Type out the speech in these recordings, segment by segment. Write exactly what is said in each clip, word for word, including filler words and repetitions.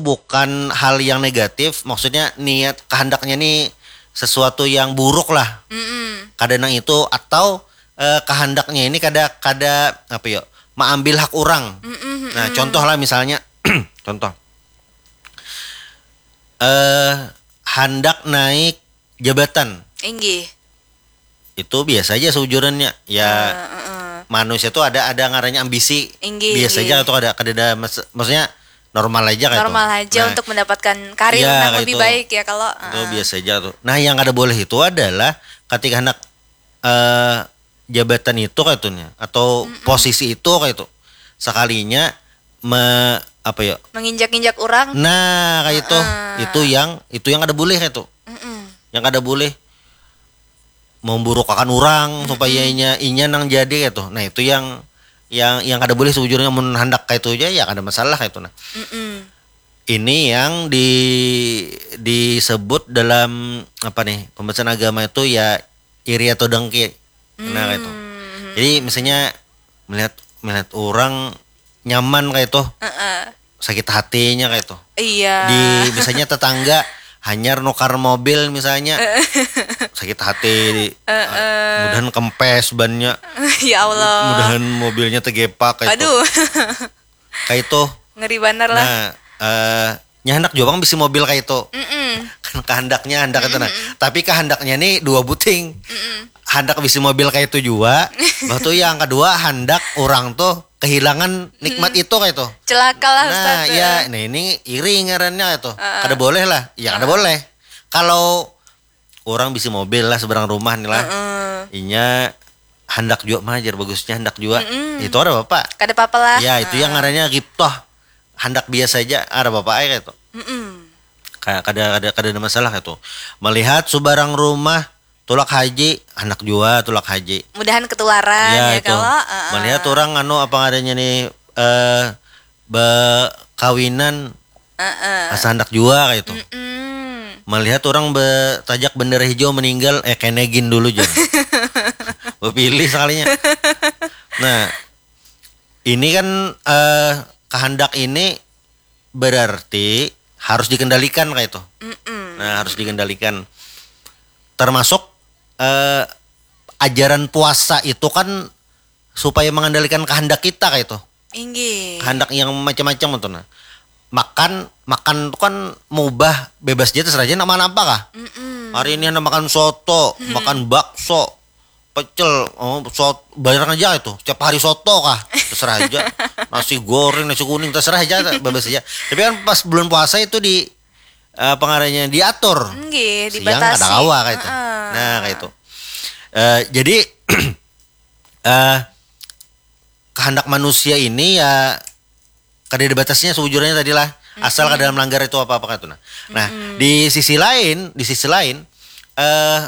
bukan hal yang negatif, maksudnya niat kehendaknya nih sesuatu yang buruk lah. Mm-mm. Kada nang itu, atau eh, kehendaknya ini kada kada apa ya, mengambil hak orang. Mm-mm. Nah, contoh lah misalnya, contoh eh hendak naik jabatan. Inggih. Itu biasa aja seujurannya. Ya, uh, uh, uh. Manusia tuh ada ada ngarannya ambisi. Inggih, biasa aja tuh, ada kada ada, maksudnya normal aja kayak normal itu. Aja nah, untuk mendapatkan karir ya, yang lebih itu, baik ya kalau itu uh. Biasa aja tuh. Nah, yang kada boleh itu adalah ketika anak eh jabatan itu kayak itu nya, atau mm-mm. Posisi itu kayak itu sekalinya me, apa ya, menginjak-injak orang. Nah, kayak itu uh. Itu yang itu yang ada boleh kayak itu. Mm-mm. Yang ada boleh memburukakan orang mm-mm. Supaya inya inya nang jadi kayak itu. Nah, itu yang yang yang kada boleh sejujurnya, mun hendak kayak itu aja ya kada masalah kayak itu nah. Mm-mm. Ini yang di disebut dalam apa nih, pembahasan agama itu ya iri atau dengki. Nah, hmm. Itu. Jadi misalnya melihat melihat orang nyaman kayak itu, uh-uh. Sakit hatinya kayak itu. Iya. Di misalnya tetangga hanyar nukar mobil misalnya, sakit hati. Uh-uh. Mudahan kempes bannya. Ya Allah. Mudahan mobilnya tegepak kayak itu. Aduh. Kayak itu. Ngeri banar lah. Nah, eh, nya handak jua pang bisi mobil kayak itu. Mm-mm. Kan kehendaknya handak itu nah. Mm-mm. Tapi kehendaknya nih dua buting. Mm-mm. Handak bisi mobil kayak itu jua. Bah tu yang kedua handak orang tuh kehilangan nikmat itu kayak itu. Celaka lah. Nah, Ustaz. Ya, nah ini iri ngarannya itu. Uh-uh. Kada boleh lah. Ya kada boleh. Kalau orang bisi mobil lah seberang rumah nih lah. Uh-uh. Inya handak jua mah jar bagusnya handak jua. Mm-mm. Itu ada apa? Kada apa-apa lah. Ya, itu yang ngarannya ghibtah. Handak biasa aja, ada apa-apa aja kayak itu. Mm-mm. Kayak kada kada kada ada masalah kayak itu. Melihat seberang rumah tulak haji, handak jua tulak haji. Mudahan ketularan ya, ya itu. Kalau uh-uh. Melihat orang anu apa ngarannya nih eh bekawinan. Uh-uh. Asa handak jua kayak itu. Mm-mm. Melihat orang betajak bendera hijau meninggal, eh kenegin dulu jar. Bepilih sekalinya. Nah, ini kan eh kehendak ini berarti harus dikendalikan kayak itu. Mm-mm. Nah, harus dikendalikan. Termasuk eh ajaran puasa itu kan supaya mengendalikan kehendak kita kayak itu. Inggih. Kehendak yang macam-macam itu nah. Makan, makan tuh kan mengubah bebas aja terserah aja nak makan apa kah? Mm-mm. Hari ini handak makan soto, makan bakso, pecel, oh, soto, bayar aja itu. Setiap hari soto kah? Terserah aja. Nasi goreng, nasi kuning, terserah aja, bebas aja. Tapi kan pas bulan puasa itu di eh, pengarahnya diatur. Nggih, siang dibatasi. Kada kawa kayak itu. Uh-uh. Nah, kayak itu. Eh, jadi eh kehendak manusia ini ya kada ada batasnya sejujurnya tadi lah. Asal kada melanggar itu apa-apa kan itu nah. Nah, di sisi lain, di sisi lain eh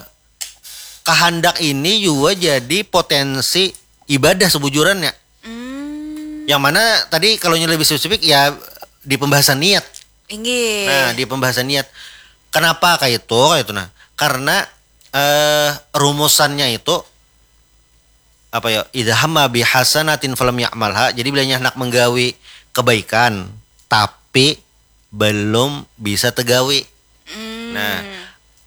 kehendak ini juga jadi potensi ibadah sebujurannya. Hmm. Yang mana tadi kalau lebih spesifik ya di pembahasan niat. Inggih. Nah, di pembahasan niat. Kenapa kayak itu? Kayak itu nah. Karena eh rumusannya itu apa ya? Idza hamma bi hasanatin falam ya'malha. Jadi bilanya hendak menggawi kebaikan tapi belum bisa tegawi. Hmm. Nah,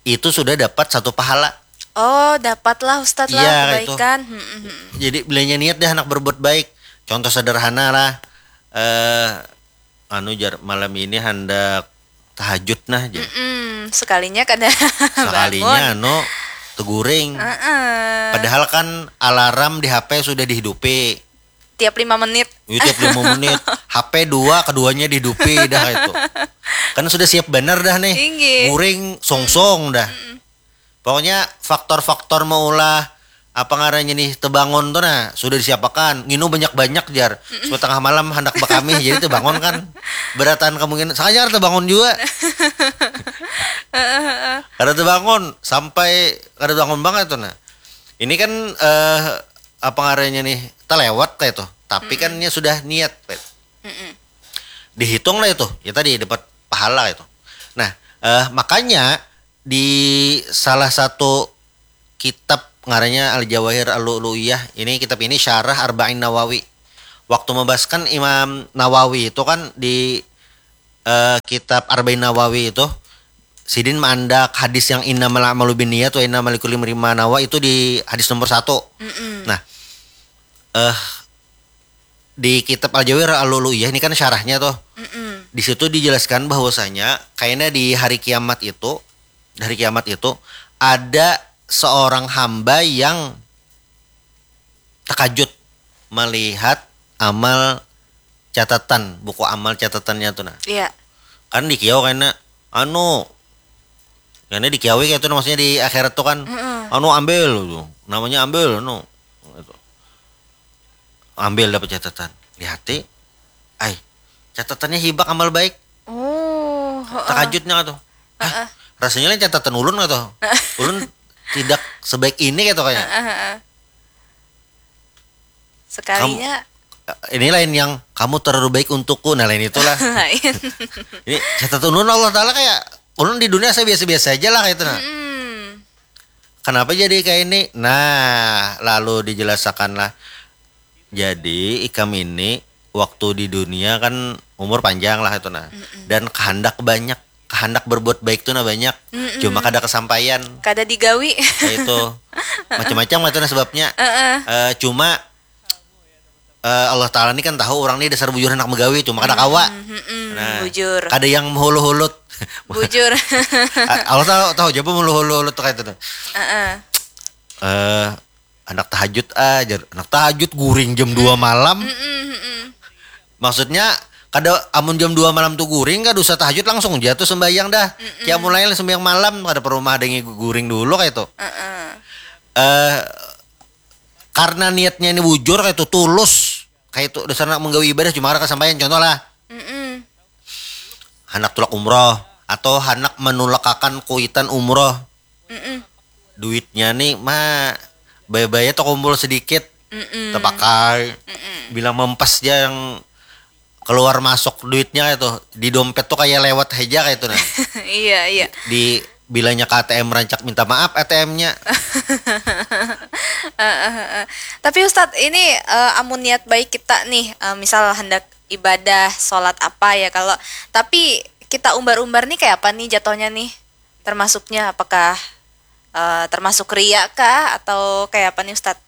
itu sudah dapat satu pahala. Oh, dapatlah Ustadz lah kebaikan. Iya, itu. Hmm, hmm, hmm. Jadi bilanya niat deh anak berbuat baik. Contoh sederhana lah. Eh anu jar malam ini handak tahajud nah jar. Mm-mm, sekalinya kada sekalinya bangun. Anu teguring. Uh-uh. Padahal kan alarm di H P sudah dihidupi. Tiap lima menit. Iya, tiap lima menit. H P dua, keduanya dihidupi dah itu. Kan sudah siap bener dah nih. Inggih. Guring songsong dah. Mm-mm. Pokoknya faktor-faktor maulah apa ngarannya nih tebangun tuh nah sudah disiapakan, nginum banyak-banyak jar. Supaya tengah malam hendak bekamih jadi tebangun kan. Berataan kemungkinan sangat tebangun juga. Kada tebangun sampai kada bangun banget tuh nah. Ini kan eh apa ngarannya nih terlewat kayak itu. Tapi kan nya sudah niat kayak itu. Mm-mm. Dihitung lah itu. Ya tadi dapat pahala itu. Nah, eh makanya di salah satu kitab ngarannya Al-Jawahir Al-Lu'lu'iyah. Ini kitab ini syarah Arba'in Nawawi. Waktu membahaskan Imam Nawawi itu kan di eh, kitab Arba'in Nawawi itu, sidin maandak hadis yang innamal a'malu binniyat wa innamal likulli imri'in ma nawa itu di hadis nomor satu. Nah, eh di kitab Al-Jawahir Al-Lu'lu'iyah ini kan syarahnya tuh. Di situ dijelaskan bahwasanya kayaknya di hari kiamat itu, di hari kiamat itu ada seorang hamba yang terkajut melihat amal catatan, buku amal catatannya tuh nah. Iya. Kan dikiau kena anu, kena dikiawi kayak itu nah, maksudnya di akhirat tuh kan, anu ambil tuh, namanya ambil anu. Gitu. Ambil dapat catatan, lihati, ai, catatannya hibak amal baik. Oh, heeh. Terkajutnya tuh. Hah, rasanya lain catatan ulun nggak tuh? Ulun tidak sebaik ini gitu kayak. Sekalinya Ini lain yang kamu terlalu baik untukku, nah lain itulah. Lain. Ini catatan ulun Allah Taala kayak ulun di dunia saya biasa-biasa aja lah kayak itu nah. Hmm. Kenapa jadi kayak ini? Nah, lalu dijelaskanlah. Jadi ikam ini waktu di dunia kan umur panjang lah itu nah. Dan kehendak banyak, kehendak berbuat baik tuh nah banyak. Cuma kada kesampaian. Kada digawi. Kayak itu. Macam-macam lah itu nah sebabnya. Eh, cuma eh, Allah Taala ini kan tahu orang ini dasar bujur hendak megawi, cuma kada kawa. Mm-mm, Nah, bujur. Kada yang hulu-hulut. Bujur. Allah tahu tahu aja hulu-hulut tuh kayak itu tuh. Heeh. Eh, anak tahajud aja, anak tahajud guring jam dua malam. Mm-mm, mm-mm. Maksudnya kada amun jam dua malam tuh guring kada usah tahajud langsung aja tuh sembahyang dah. Kayak mulai sembahyang malam kada perlu mah ada yang guring dulu kayak itu. Heeh. Eh karena niatnya ini bujur kayak itu tulus kayak itu dasar nak menggawi ibadah cuma ada kesampaian contoh lah Mm-mm. hendak tulak umroh atau hendak menulakakan kuitan umroh Mm-mm. duitnya nih mah baya-baya tuh kumpul sedikit Mm-mm. terpakai bilang mempas aja yang keluar masuk duitnya itu di dompet tuh kayak lewat aja kayak itu nah Iya, iya. Di bilanya ke A T M rancak minta maaf A T M-nya. Heeh, heeh. Tapi Ustadz, ini eh, amun niat baik kita nih, eh, misal hendak ibadah, sholat apa ya kalau, tapi kita umbar-umbar nih kayak apa nih jatuhnya nih? Termasuknya apakah eh, termasuk ria kah atau kayak apa nih Ustadz?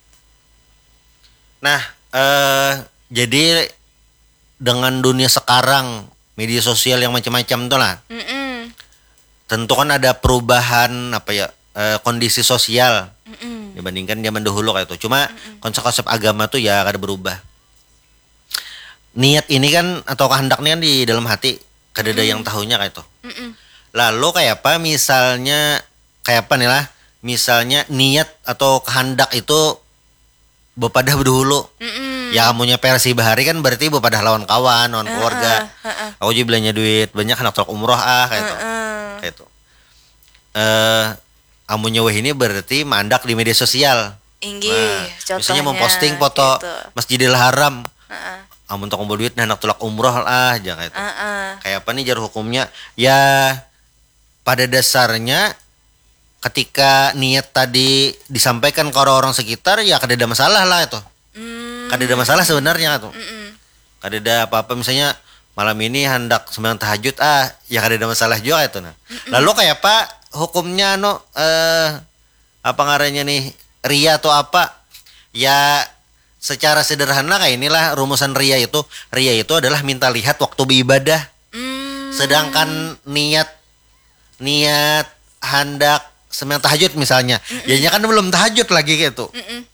Nah, eh jadi dengan dunia sekarang media sosial yang macam-macam tuh lah. Mm-mm. Tentu kan ada perubahan apa ya eh, kondisi sosial Mm-mm. dibandingkan zaman dahulu kayak itu. Cuma konsep-konsep agama tuh ya kada berubah. Niat ini kan atau kehendak ini kan di dalam hati, kada ada yang tahunya kayak itu. Mm-mm. Lalu kayak apa misalnya kayak apa nih lah? Misalnya niat atau kehendak itu bepadah berdahulu. Mm-mm. Ya amunnya versi bahari kan berarti bepadah lawan kawan, lawan keluarga. Heeh. Aku juga belanja duit banyak hendak truk umroh ah kayak itu. Heeh. Kayak itu. Eh amunnya wah ini berarti mandak di media sosial. Inggih, Nah, contohnya. Misalnya memposting foto Gitu. Masjidil Haram. Heeh. Amun tak kumpul duit nah hendak tulak umroh lah aja kayak itu. Heeh. Kayak apa nih jar hukumnya? Ya pada dasarnya ketika niat tadi disampaikan ke orang-orang sekitar ya kada ada masalah lah itu. Hmm. Kada ada masalah sebenarnya tuh. Mm-mm. Kada ada apa-apa misalnya malam ini hendak sembahyang tahajud ah ya kada ada masalah juga itu nah. Lalu kayak apa hukumnya anu eh apa ngarannya nih ria atau apa? Ya secara sederhana kayak inilah rumusan ria itu. Ria itu adalah minta lihat waktu beribadah. Hmm. Sedangkan niat niat hendak sembahyang tahajud misalnya, ya kan belum tahajud lagi gitu. Mm-mm.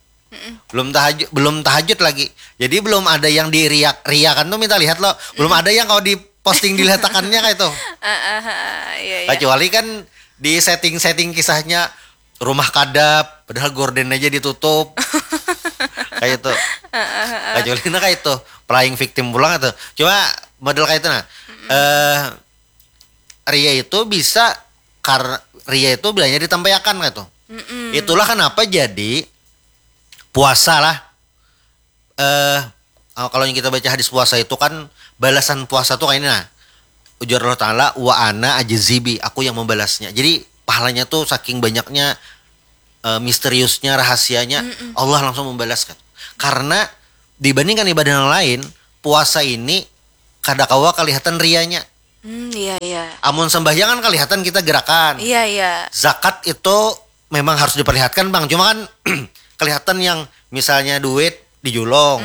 Belum tahajud belum tahajud lagi. Jadi belum ada yang diriak riakan tuh minta lihat loh. Belum ada yang kalau diposting diletakannya kayak itu. Ah, ah, ah, iya, iya. Kecuali kan di setting-setting kisahnya rumah kadap, padahal gorden aja ditutup. Kayak itu. Kecuali nah kayak itu, playing victim pulang itu. Cuma model kayak itu nah. Eh ria itu bisa kar ria itu bilanya ditampaiakan kayak itu. Mm-mm. Itulah kenapa jadi puasa lah. Eh kalau yang kita baca hadis puasa itu kan balasan puasa tuh kayak ini nah. Ujar Allah Ta'ala, wa ana ajzibi, aku yang membalasnya. Jadi pahalanya tuh saking banyaknya eh, misteriusnya, rahasianya, Allah langsung membalaskan. Karena dibandingkan ibadah yang lain, puasa ini kada kawa kelihatan rianya. Hmm, iya iya. Amun sembahyang kan kelihatan kita gerakan. Iya iya. Zakat itu memang harus diperlihatkan, Bang. Cuma kan kelihatan yang misalnya duit dijulung,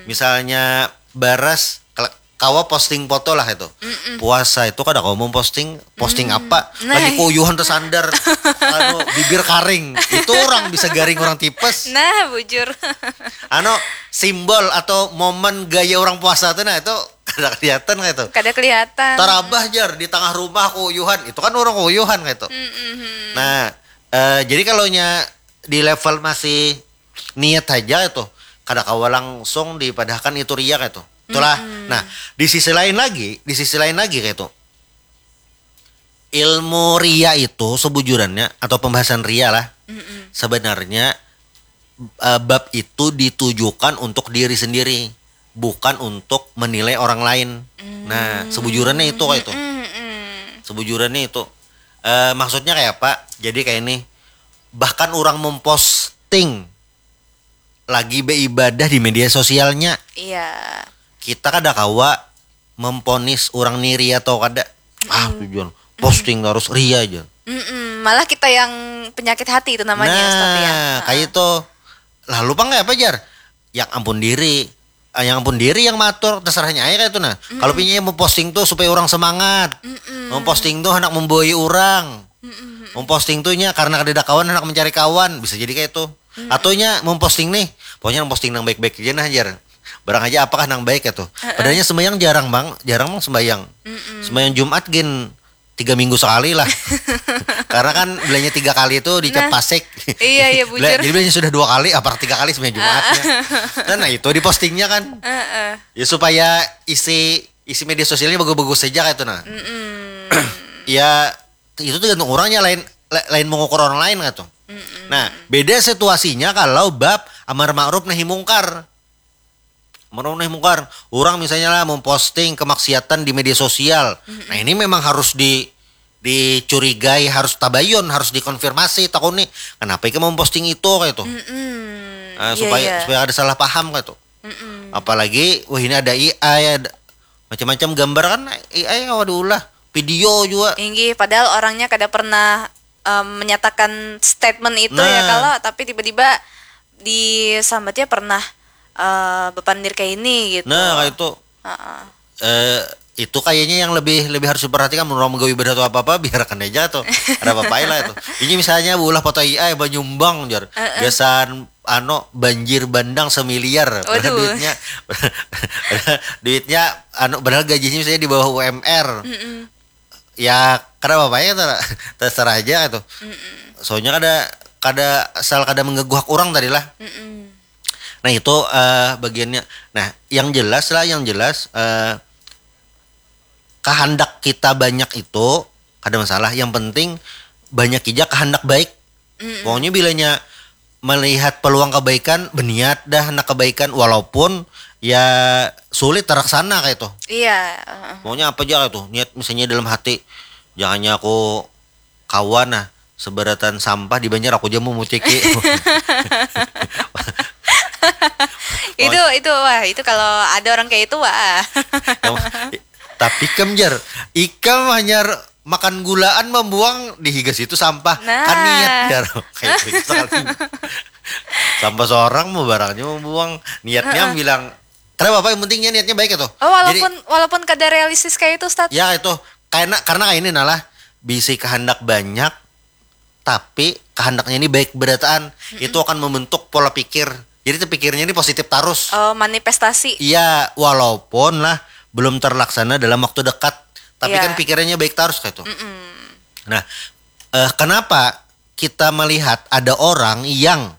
misalnya baras, kal- kawa posting foto lah itu. Puasa itu kada kawa memposting, posting apa? Nah. Lagi kuyuhan tersandar, anu, bibir karing. Itu orang bisa garing, orang tipes. Nah, bujur. Anu, simbol atau momen gaya orang puasa tuh, nah, itu kada kelihatan kayak itu. Kada kelihatan. Tarabah jar di tengah rumah kuyuhan, itu kan orang kuyuhan kayak itu. Nah, eh, jadi kalau nya di level masih niat aja itu, kada kawa langsung dipadahkan itu ria kayak itu. Itulah. Nah, di sisi lain lagi, di sisi lain lagi kayak itu, ilmu ria itu sebujurannya atau pembahasan ria lah, sebenarnya, eh, bab itu ditujukan untuk diri sendiri, bukan untuk menilai orang lain. Nah, sebujurannya itu kayak itu. Sebujurannya itu, eh, maksudnya kayak apa? Jadi kayak ini, bahkan orang memposting lagi beribadah di media sosialnya, Iya. Kita kada kawa memponis orang ni ria atau kada. Ah, tujuan posting terus ria aja. Mm-mm. Malah kita yang penyakit hati itu namanya, Ustaz, ya. Nah, kayak itu. Lalu pang kayak apa, jar? Yang ampun diri. Ah, yang ampun diri yang matur, terserahnya aja kayak itu, nah. Kalau pinya mau posting tuh supaya orang semangat. Mau posting tuh hendak memboi orang. Mau posting tuh nya karena kada ada kawan, hendak mencari kawan, bisa jadi kayak itu. Atau nya mau posting nih, pokoknya posting yang baik-baik aja nah, jar. Barang aja apakah nang baik itu. Padahalnya sembahyang jarang, Bang, jarang, Bang, sembahyang. Sembahyang Jumat gin tiga minggu sekali lah. Karena kan bilanya tiga kali itu dicap pasik. Iya, iya, bujur. Jadi bilanya sudah dua kali, apa tiga kali sembahyang Jumatnya. Nah, nah, itu dipostingnya kan. Heeh. Ya supaya isi isi media sosialnya bagus-bagus saja kayak itu, nah. Ya itu tergantung orangnya, lain la- lain mengukur orang lain kayak itu. Nah, beda situasinya kalau bab amar ma'ruf nahi mungkar. Amar ma'ruf nahi mungkar. Orang misalnya lah memposting kemaksiatan di media sosial. Nah, ini memang harus di dicurigai, harus tabayun, harus dikonfirmasi, takuni kenapa ikam memposting itu kayak itu. Mm-mm. Nah, Iya, supaya iya. supaya ada salah paham kayak itu. Mm-mm. Apalagi wah ini ada A I, ada macam-macam gambar kan, A I kawa diulah, video juga. Inggih, padahal orangnya kada pernah em, menyatakan statement itu ya Nah. Kalau, tapi tiba-tiba disambatnya pernah eh, bepandir kayak ini gitu. Nah, kayak itu. Heeh. Eh, itu kayaknya yang lebih lebih harus diperhatikan menurut menggawi ibadah atau apa apa, biarkan aja tuh, ada apa apa lah itu. Ini misalnya ulah foto I A banyumbang, jar, gasan anu banjir bandang semiliar. Padahal Waduh. Duitnya duitnya anu, padahal gajinya misalnya di bawah U M R. Ya kada apa apa ya, ter- terserah aja tuh. Soalnya kada kada asal kada mengganggu hak orang tadi lah. Mm-mm. Nah, itu eh, bagiannya. Nah, yang jelas lah, yang jelas, eh, kehendak kita banyak itu kada masalah. Yang penting banyak aja kehendak baik. Pokoknya bilanya melihat peluang kebaikan, berniat dah nak kebaikan, walaupun ya sulit terlaksana kayak itu. Iya. Heeh. Maunya apa aja kayak itu. Niat misalnya dalam hati, jangannya aku kawan nah, seberatan sampah di Banjar aku aja mau muciki. Itu itu wah itu kalau ada orang kayak itu wah. Tapi ikam, jar, ikam hanya makan gulaan, membuang di higa situ sampah. Nah. Kan niat, jar. Kayak itu sekali. Sampah seorang mau barangnya membuang. Niatnya bilang, kenapa apa, yang pentingnya niatnya baik itu. Oh, walaupun walaupun kada realistis kayak itu, Ustaz. Ya itu karena karena kayak ini nalah, bisi kehendak banyak tapi kehendaknya ini baik berataan, itu akan membentuk pola pikir. Jadi terpikirnya ini positif terus. Oh, manifestasi. Iya, walaupun lah belum terlaksana dalam waktu dekat, tapi Iya. Kan pikirannya baik terus kayak itu. Nah, eh, kenapa kita melihat ada orang yang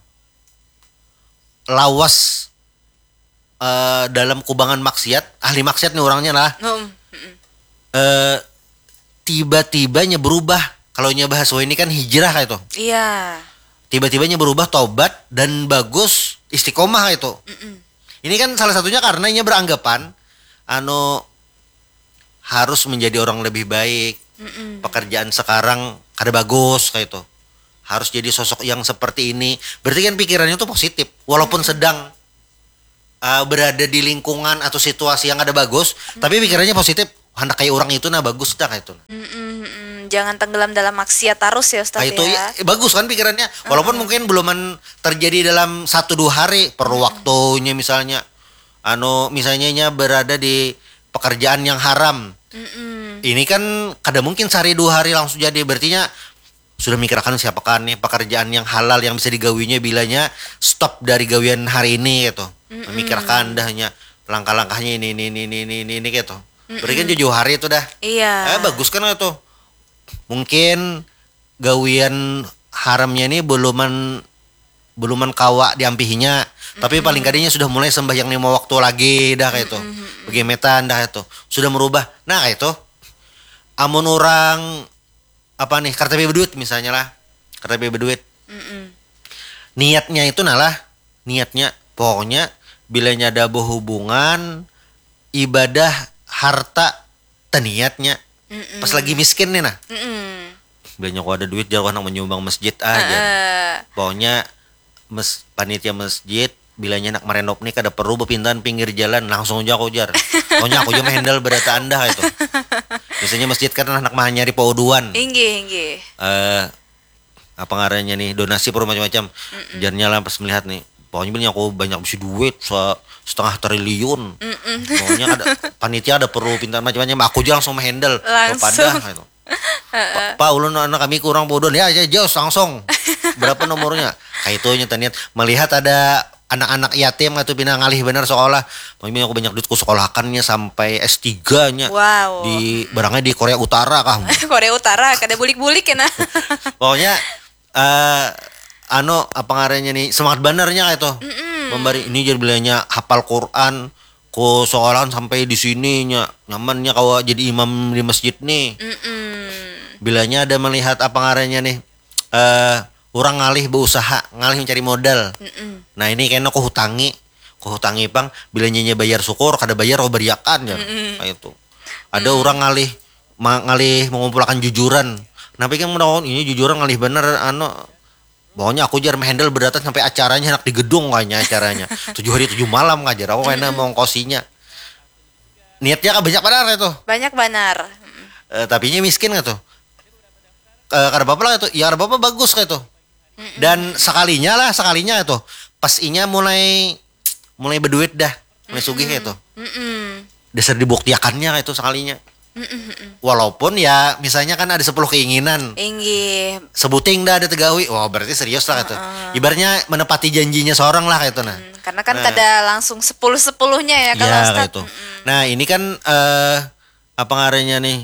lawas eh, dalam kubangan maksiat, ahli maksiat nih orangnya lah, Hmm, mm-mm. eh, tiba-tibanya berubah. Kalau nya bahas ini kan hijrah kayak itu. Iya. Tiba-tibanya berubah, taubat dan bagus, istiqomah kayak itu. Ini kan salah satunya karena inya beranggapan anu harus menjadi orang lebih baik. Pekerjaan sekarang kada bagus kayak itu. Harus jadi sosok yang seperti ini. Berarti kan pikirannya tuh positif. Walaupun sedang uh, berada di lingkungan atau situasi yang ada bagus, tapi pikirannya positif. handak kayak orang itu nah bagus dah kayak itu. Mm-mm, mm-mm. Jangan tenggelam dalam maksiat terus ya Ustaz Kayak itu ya. Ya, bagus kan pikirannya. Walaupun mungkin belum terjadi dalam satu dua hari, perlu waktunya misalnya. Anu misalnya nya berada di pekerjaan yang haram. Mm-mm. Ini kan kada mungkin sehari dua hari langsung jadi. Berartinya sudah memikirkan siapa kan nih pekerjaan yang halal yang bisa digawinya bilanya stop dari gawian hari ini gitu. Memikirkan dahnya langkah-langkahnya ini ini ini ini ini, ini gitu. Berarti kan jauh hari itu dah. Iya. Eh, bagus kan itu. Mungkin gawian haramnya ini beluman beluman kawa diampihinya. Tapi paling kadanya sudah mulai sembahyang lima waktu lagi dah kayak itu. Begemetan dah itu. Sudah merubah. Nah, kayak itu. Amun orang apa nih, karena tapi berduit misalnya lah. Karena tapi berduit. Mm-mm. Niatnya itu nah lah, niatnya pokoknya bilanya ada berhubungan ibadah harta teniatnya pas lagi miskin nih nah. Mm-mm. Bilanya aku ada duit jar aku handak menyumbang masjid ah jar. Eh, Pokoknya mes, panitia masjid bilanya nak merenov nih kada perlu berpintahan pinggir jalan langsung aja aku jar. Pokoknya aku aja menghandle berataan dah itu. Biasanya masjid kan anak mahanyari pauduan. Inggih, inggih. Eh apa ngarannya nih donasi per macam-macam. Jarnya lah pas melihat nih pokoknya bilanya aku banyak bisi duit se- setengah triliun. Pokoknya ada panitia ada perlu pintahan macam-macam aku aja langsung menghandle. Langsung. Kepada gitu. Pak, Pak, ulun anak kami kurang bodoh ya aja jos langsung. Berapa nomornya? Kayak itu nyata niat melihat ada anak-anak yatim atau pina ngalih benar sekolah. Pokoknya aku banyak duitku sekolahkannya sampai S tiga nya. Wow. Di barangnya di Korea Utara kah? Korea Utara kada bulik-bulik ya nah. Pokoknya eh anu apa ngarannya nih semangat benernya kayak itu. Memberi ini jadi bilanya hafal Quran ku sekolahan sampai di sini nya nyamannya kawa jadi imam di masjid nih. Mm-mm. Bilanya ada melihat apa ngarannya nih eh orang ngalih berusaha ngalih mencari modal. Mm-mm. Nah ini kena ku hutangi, ku hutangi pang bilanya nya bayar syukur kada bayar ku beriakan ya. Kayak itu. Ada orang ngalih ma- ngalih mengumpulkan jujuran. Kenapa kan mendapat ini jujuran ngalih bener anu pokoknya aku jar menghandle berdata sampai acaranya anak di gedung kayaknya acaranya tujuh hari tujuh malam ngajar aku kayaknya mengkosinya niatnya kan banyak benar itu. Banyak banar. Mm-mm. Eh, tapi ini miskin gitu. Eh, kada apa-apa lah itu ya kada apa-apa bagus kayak itu. Dan sekalinya lah sekalinya itu pas inya mulai mulai berduit dah mulai sugih kayak itu. Mm-mm. Dasar dibuktiakannya kayak itu sekalinya. Mm-mm, mm-mm. Walaupun ya misalnya kan ada sepuluh keinginan Inggih. Sebuting dah ada tegawi wah berarti serius lah gitu. Ibaratnya menepati janjinya seorang lah kayak itu nah. Hmm, karena kan kada langsung sepuluh sepuluhnya ya kalau Ya Ustaz. Kayak itu. Nah ini kan eh apa ngarannya nih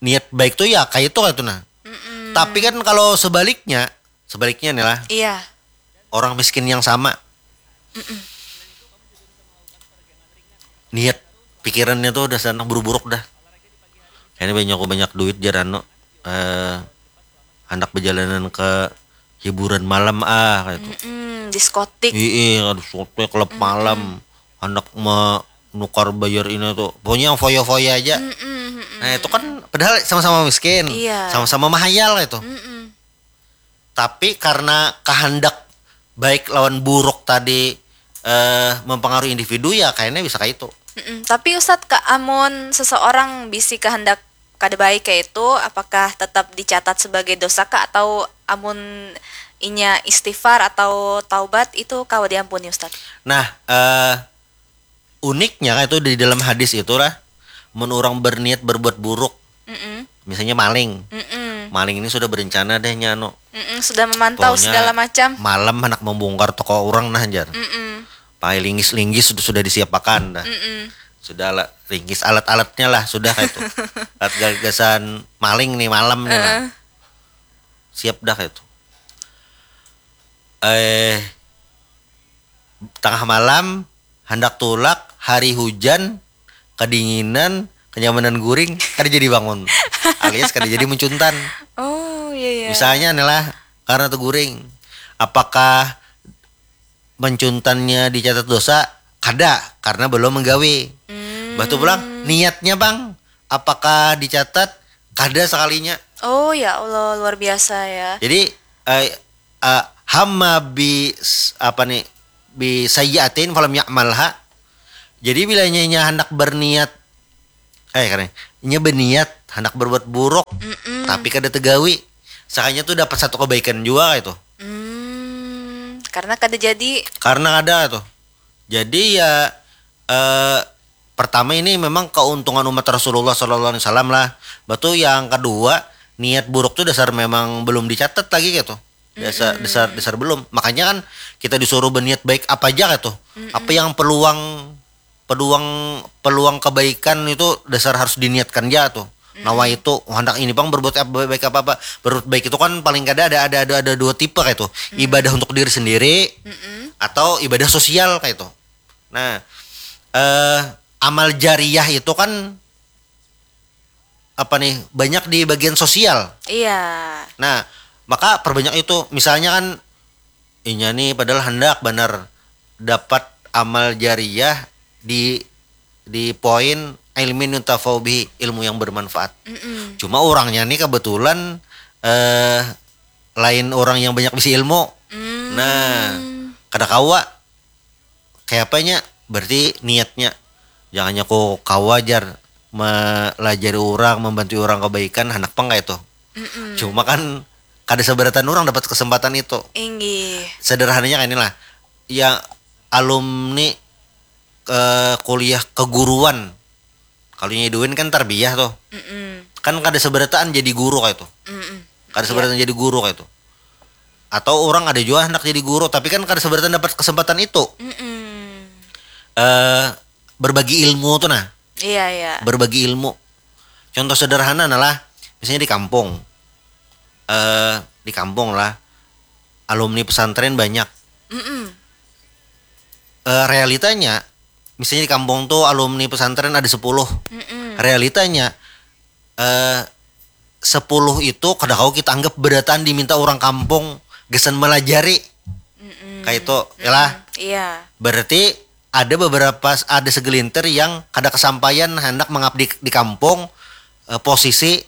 niat baik tuh ya kayak itu kayak itu nah. Tapi kan kalau sebaliknya sebaliknya nih lah Iya. Orang miskin yang sama niat pikirannya tuh udah sana buruk-buruk dah. Ini banyak banyak duit jar anu eh hendak berjalanan ke hiburan malam ah kayak itu. Mm-mm, diskotik. Iya, aduh sote klub malam. Hendak menukar bayar ini tuh. Pokoknya yang foya-foya aja. Mm-mm, mm-mm. Nah, itu kan padahal sama-sama miskin, Iya. Sama-sama mahayal itu. Mm-mm. Tapi karena kehendak baik lawan buruk tadi eh mempengaruhi individu ya kayaknya bisa kayak itu. Mm-mm. Tapi Ustadz, ka amun seseorang bisi kehendak kada baik kayak itu, apakah tetap dicatat sebagai dosa kah atau amun inya istighfar atau taubat itu kawa diampuni Ustadz? Nah, eh uniknya itu di dalam hadis itulah mun orang berniat berbuat buruk, Mm-mm. Misalnya maling. Mm-mm. Maling ini sudah berencana deh nya anu. Mm-mm. Sudah memantau Pokoknya segala macam. Malam hendak membongkar toko orang nah jar. Mm-mm. Pakai linggis-linggis sudah, sudah disiapakan dah. Mm-mm. Sudah lah linggis alat-alatnya lah sudah kayak itu. Alat gagasan maling nih malam nih lah. Heeh. Siap dah kayak itu. Eh tengah malam hendak tulak hari hujan kedinginan kenyamanan guring kada jadi bangun alias kada jadi mencuntan. Oh iya iya. Misalnya nih lah karena tuh guring apakah mencuntannya dicatat dosa? Kada karena belum menggawe. Hmm. Batu pulang niatnya bang apakah dicatat? Kada sekalinya. Oh ya Allah luar biasa ya. Jadi eh, eh, hamma bi s- apa nih bi sayyiatin falam ya'malha. Jadi bila nyanya hendak berniat eh keren. inya beniat handak berbuat buruk, tapi kada tegawi, sakanya tuh dapat satu kebaikan jua kayak itu. Hmm, karena kada jadi. Karena ada tuh. Jadi ya, eh, pertama ini memang keuntungan umat Rasulullah Sallallahu Alaihi Wasallam lah. Batu yang kedua, niat buruk tuh dasar memang belum dicatat lagi gitu. Dasar dasar dasar belum. Makanya kan kita disuruh berniat baik apa aja gitu. Apa yang peluang peluang peluang kebaikan itu dasar harus diniatkan aja tuh. Nawaitu, oh, handak ini pang berbuat apa, baik apa apa. Berbuat baik itu kan paling kada ada ada ada, ada dua tipe kayak itu. Ibadah untuk diri sendiri atau ibadah sosial kayak itu. Nah, eh amal jariah itu kan apa nih, banyak di bagian sosial. Iya. Nah, maka perbanyak itu. Misalnya kan inya nih padahal hendak benar dapat amal jariah di di poin ilmin yuntafau bihi, ilmu yang bermanfaat. Cuma orangnya nih kebetulan eh lain orang yang banyak bisi ilmu. Nah, kada kawa. Kayak apanya? Berarti niatnya. Jangannya ku kawa jar melajari orang, membantu orang kebaikan, handak pang kayak itu. Cuma kan kada seberatan orang dapat kesempatan itu. Inggih. Sederhananya kayak inilah. Ya, alumni eh, kuliah keguruan. Kalau nya Edwin kan tarbiyah tuh. Kan kada seberataan jadi guru kayak itu. Kada seberataan jadi guru kayak itu. Atau orang ada juga hendak jadi guru, tapi kan kada seberataan dapat kesempatan itu. Mm-mm. Eh berbagi ilmu tuh nah. Iya, iya. Berbagi ilmu. Contoh sederhana nah lah, misalnya di kampung. Eh di kampung lah, alumni pesantren banyak. Mm-mm. Eh, realitanya, misalnya di kampung tuh alumni pesantren ada sepuluh. Mm-mm. Realitanya eh sepuluh itu kada kau kita anggap berataan diminta orang kampung gesan melajari. Mm-mm. Kayak itu, ya lah. Iya. Berarti ada beberapa, ada segelintir yang kada kesampaian hendak mengabdi di kampung, eh, posisi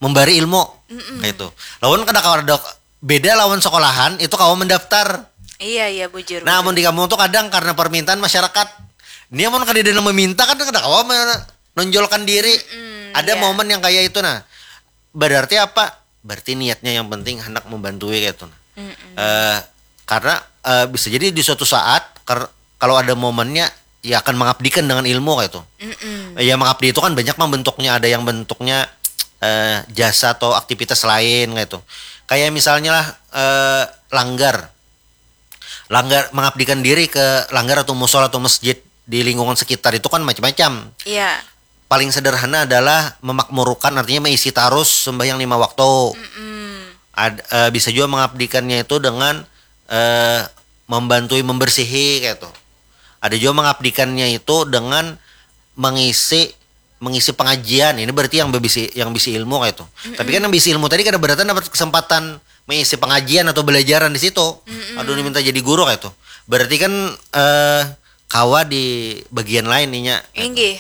membari ilmu. Kayak itu. Lawan kada kawa ada beda lawan sekolahan itu kawa mendaftar. Iya, iya, bujur. Nah, amun di kampung tuh kadang karena permintaan masyarakat. Ini amun kada ada nang meminta kan kada kawa menonjolkan diri. Ada Iya. Momen yang kayak itu nah. Berarti apa? Berarti niatnya yang penting hendak membantu kayak itu nah. Eh karena eh, bisa jadi di suatu saat ker- kalau ada momennya ya akan mengabdikan dengan ilmu kayak itu. Mm-mm. Ya mengabdi itu kan banyak mang bentuknya, ada yang bentuknya eh, jasa atau aktivitas lain kayak itu. Kayak misalnya lah eh, langgar. Langgar mengabdikan diri ke langgar atau musola atau masjid di lingkungan sekitar itu kan macam-macam. Iya. Paling sederhana adalah memakmurukan, artinya mengisi tarus sembahyang lima waktu. Mm-mm. Ad- eh, bisa juga mengabdikannya itu dengan eh, membantui membersihi kayak itu. Ada juga mengabdikannya itu dengan mengisi mengisi pengajian. Ini berarti yang bisi yang bisi ilmu kayak itu. Tapi kan yang bisi ilmu tadi kada berarti dapat kesempatan mengisi pengajian atau belajaran di situ. Aduh, ini minta jadi guru kayak itu. Berarti kan eh kawa di bagian lain inya. Inggih.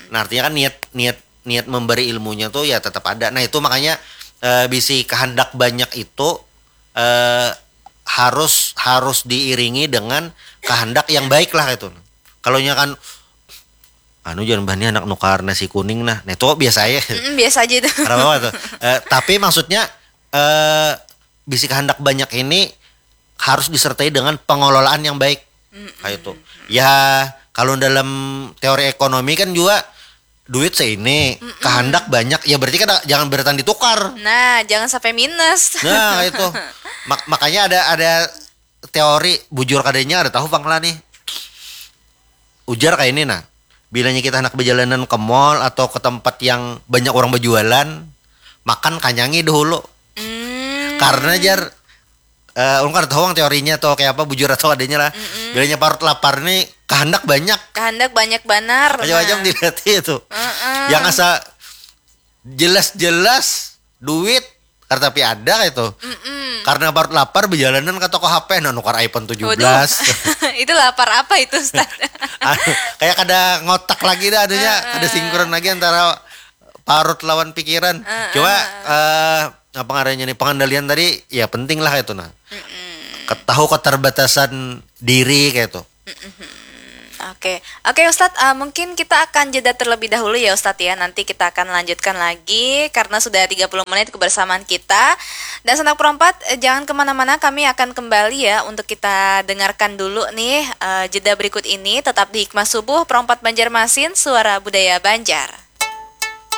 Nah, artinya kan niat niat niat memberi ilmunya tuh ya tetap ada. Nah, itu makanya eh, bisi kehendak banyak itu eh harus harus diiringi dengan kehendak yang baik lah itu. Kalau nya kan anu jangan bahani anak nukar nasi kuning nah. Nah, itu biasa aja. Mm-mm, biasa aja itu. Kenapa tuh? Eh, tapi maksudnya eh bisi kehendak banyak ini harus disertai dengan pengelolaan yang baik. Kayak itu. Ya, kalau dalam teori ekonomi kan juga duit seini, kehendak banyak, ya berarti kan jangan beratan ditukar. Nah, jangan sampai minus. Nah, itu. Mak- makanya ada ada teori bujur kadanya ada tahu pang lah nih. Ujar kayak ini nah. Bilanya kita anak perjalanan ke mall atau ke tempat yang banyak orang berjualan, makan kanyangi dahulu. Hmm. Karena jar eh ulun kada tahu ang teorinya atau kayak apa bujur atau adanya lah. Bilanya parut lapar nih kehendak banyak. Kehendak banyak banar. Macam-macam Nah. Dilihat itu. Heeh. Yang asa jelas-jelas duit karena tapi ada kayak itu. Mm-mm. Karena parut lapar berjalanan ke toko H P nah nukar iPhone Waduh. tujuh belas. Itu lapar apa itu, Ustaz? Anu, kayak kada ngotak lagi dah anunya, kada sinkron lagi antara parut lawan pikiran. Cuma eh apa ngarannya nih pengendalian tadi ya penting lah itu nah. Ketahu keterbatasan diri kayak itu. Oke, oke Ustadz, uh, mungkin kita akan jeda terlebih dahulu ya Ustadz ya. Nanti kita akan lanjutkan lagi karena sudah tiga puluh menit kebersamaan kita. Dan Sanak Perompat, eh, jangan kemana-mana, kami akan kembali ya untuk kita dengarkan dulu nih uh, jeda berikut ini. Tetap di Hikmah Subuh, Perompat Banjarmasin, Suara Budaya Banjar.